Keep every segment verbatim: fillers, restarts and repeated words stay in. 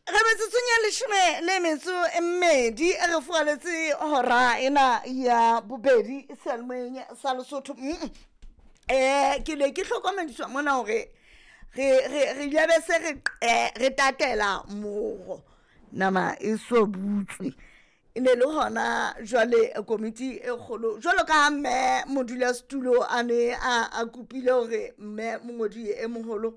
Re metsotsong ya leshome le metso e mmedi re furaletse hora ena ya bobedi seyalemoyeng sa Lesotho. Mm eh ke ne ke hlokomediswa mona hore re re re ile be se re re tatela moro nama e so butswe. E ne le hona jwale komiti e kgolo jwalo ka mme modulasetulo a ne a a kopile hore mme mongodi e moholo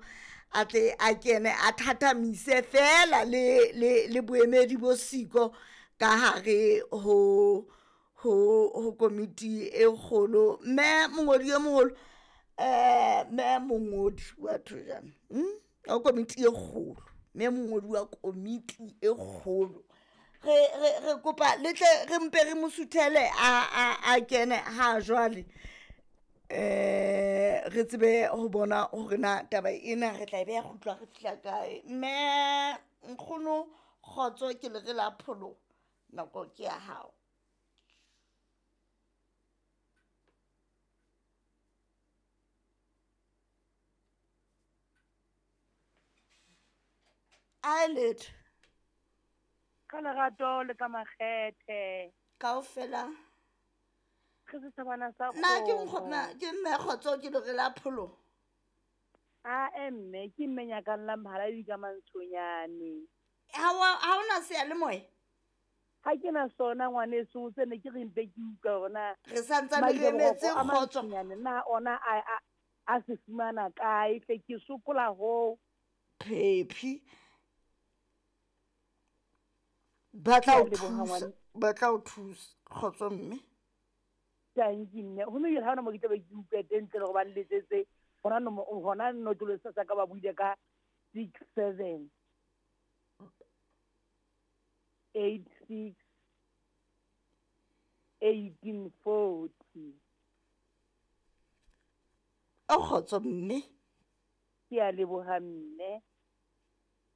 a tle a kene a thathamise fela le le le boemedi bo siko ka hare ho ho ho komiti e kgolo. Mme mongodi e moholo eh mme mongodi wa thojana mm wa komiti e kgolo, mme mongodi wa komiti e kgolo re re re kopa le tle re mpe re mo suthele a a a kene ha jwale eh re tsebe ho bona hore na taba ena re tla e beha kgutlo ha re fihla kae. Mme nkgono kgotso ke le re la pholoho nako ke ya hao. A letho Ka lerato le ka makgethe. Kaofela Re setjhabana sa na ke kgomo. nkgo- na ke mme kgotso ke le re la pholoho. A mme ke mme nyakang la mhaladi ka mantshonyane. Ha wa ha ona seyalemoya? Ha ke na sona ngwaneso se ne ke re mpe ke utlwa hore na Re santsane re emetse Madiboroko a kgotso. mantshonyane na ona a a a se fumana kae hle ke sokola hoo. Phephi. Ba tla Ke o a leboha thusa, ngwane. ba tla o thusa kgotso mme. Tanki mme ho mme ha hona mo ke tla be ke utlwa teng ntle le hore ba nletsetse hona nomo hona notlolo sa ka ba buile ka six seven eight six eighteen forty. O kgotso mme. Ke a leboha mme.